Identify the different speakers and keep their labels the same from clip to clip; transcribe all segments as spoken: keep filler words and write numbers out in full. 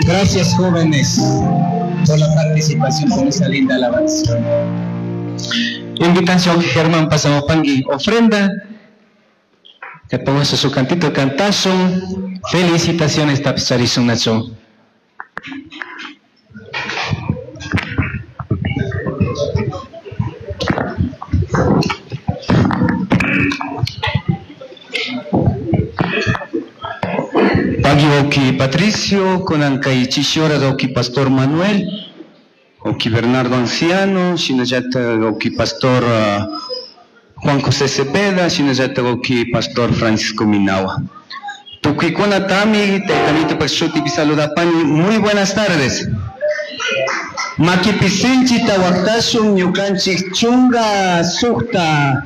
Speaker 1: Gracias, jóvenes, por la participación con esa linda alabanza.
Speaker 2: Invitación Germán pasamupangui ofrenda. Que ponga su cantito cantazo. Felicitaciones tapicharishun nacho. Pagui oki Patricio, kunan kay chishora oki Pastor Manuel, oki Bernardo Anciano, shinallata oki Pastor uh, Juan José Cepeda, shinallata oki Pastor Francisco Minawa. Tukuykuna tami, taytamito shuti saludapani, muy buenas tardes. Makipisinchi tawaktashun ñukanchik chunga sukta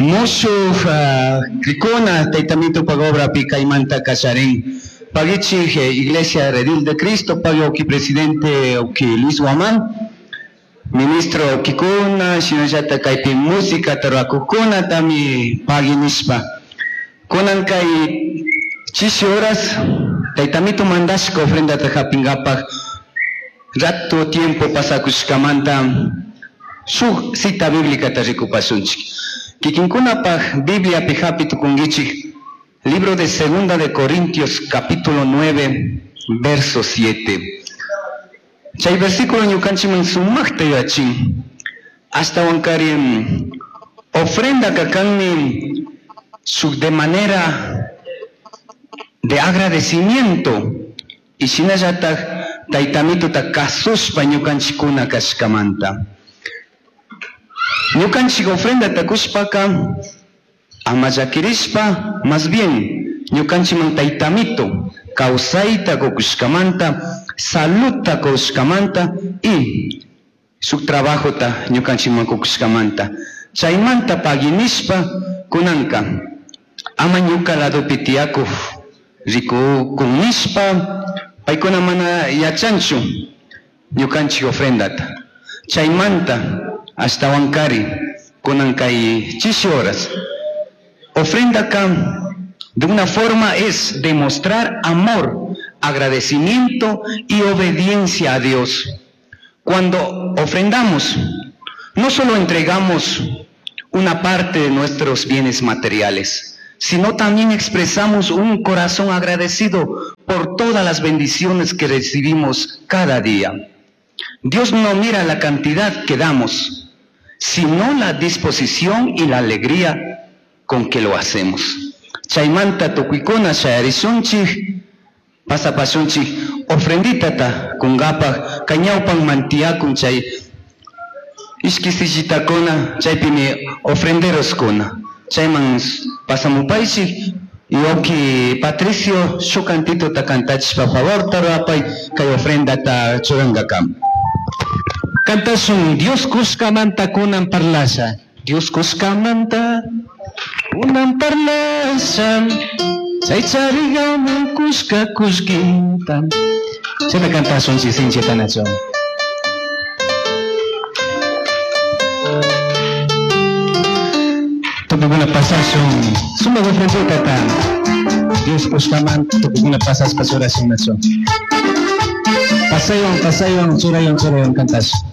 Speaker 2: mushuk uh, krikuna taytamito pagobra pikaymanta kasharin. Pagichi Iglesia Redil de Cristo, pagui oki presidente oki Luis Guamán, ministro okikuna, shinallata kaypi música tarwakukuna tami pagui nishpa. Kunan kay chishi horas taytamito mandashka ofrendata hapingapaj rato tiempo pasakushkamanta shuk cita bíblica ta rikupasunchik. Kikinkunapaj Biblia hapi tukunkichik, libro de Segunda de Corintios capítulo nueve verso siete. Chay versículo ñukanchikman sumaqta yachin. Hasta wankari ofrenda kakanmi su de manera de agradecimiento y shinallataj taytamituta kasushpa ñukanchikkuna kashkamanta. Ñukanchik ofrenda takushpaka ama llakirishpa, más bien ñukanchikman taytamito kawsayta kukushkamanta, saludta kushkamanta y su trabajota ñukanchikman kukushkamanta. Chaymanta paginishpa kunanka ama ñuka ladopi tiyakuq rikukunishpa paykuna mana yachanchu ñukanchik ofrendata. Chaymanta ashtawankari kunan kay chishi horas. Ofrenda acá de una forma es demostrar amor, agradecimiento y obediencia a Dios. Cuando ofrendamos, no solo entregamos una parte de nuestros bienes materiales, sino también expresamos un corazón agradecido por todas las bendiciones que recibimos cada día. Dios no mira la cantidad que damos, sino la disposición y la alegría con que lo hacemos. Chaymanta tukuykuna shayarishunchik, pasapashunchik, ofrenditata kungapaj, kay ñawpan mantiyakun chay ishki sillitakuna, chaypimi ofrenderoskuna. Chayman pasamupaychik, y oki Patricio shuk cantito ta kantachishpa favor tarapay kay ofrendata churankakama.
Speaker 3: Cantasun Dios kushkamanta kunan parlasha. Dios kushkamanta kunan parlasha. Chay charigaman kushka kushkinta. Chayta cantasun chisinchita nacho. Tukukuna pasasun sumaq ofrendita ta. Dios kushkamanta tukukuna pasaspa churasun nacho. Pasayon, pasayon, churayon, churayon cantasun.